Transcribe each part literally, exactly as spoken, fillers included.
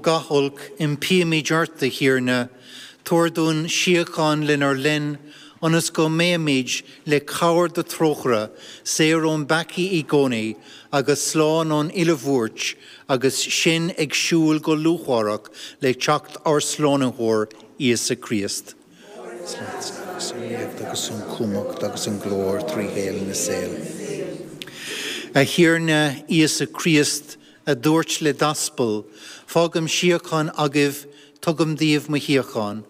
Gach olc, impímid ort, a Thiarna, tabhair dúinn síocháin lenár linn, ionas go mbeimid le cabhair do thrócaire, saor ón bpeacaí i gcónaí, agus slán ón uile bhuairt, agus sinn ag siúl go lúcháireach le teacht ár Slánaitheoir Íosa Críost. Agus an ríocht agus an chumhacht agus an glóir trí shaol na saol. A Thiarna Íosa Críost, a dúirt le d'aspail, fágaim síocháin agaibh, tugaim daoibh mo shíocháin.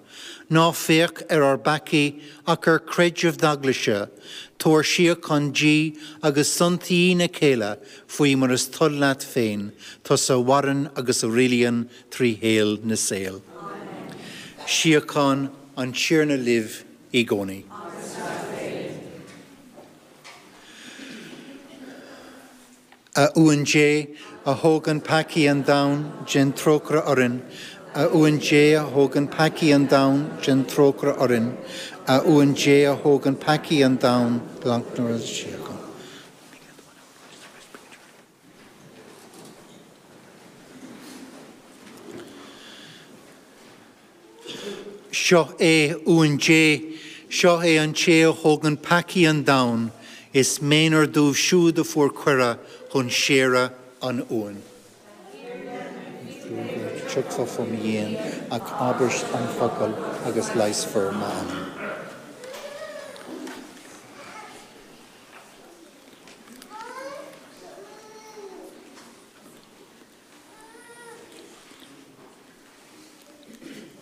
Ná féach ar ár bpeacaí ach ar chreideamh d'eaglaise, tabhair síocháin di agus aontaigh lena chéile faoi mar is toil leat féin, tusa a mhaireann agus a rialaíonn trí shaol na saol. Síocháin an Tiarna libh i gcónaí. A Uan Dé a thógann peacaí an domhain, déan trócaire orainn, a Uan Dé a thógann peacaí an domhain, déan trócaire orainn, a Uan Dé a thógann peacaí an domhain, glac síocháin. Seo é Uan Dé, seo é an té a thógann peacaí an domhain, is méanar dóibh siúd a fuair cuireadh chun séire an Uain. Tiocfá faoi mo dhíon ach abair an focal agus leigheasfar m'anam.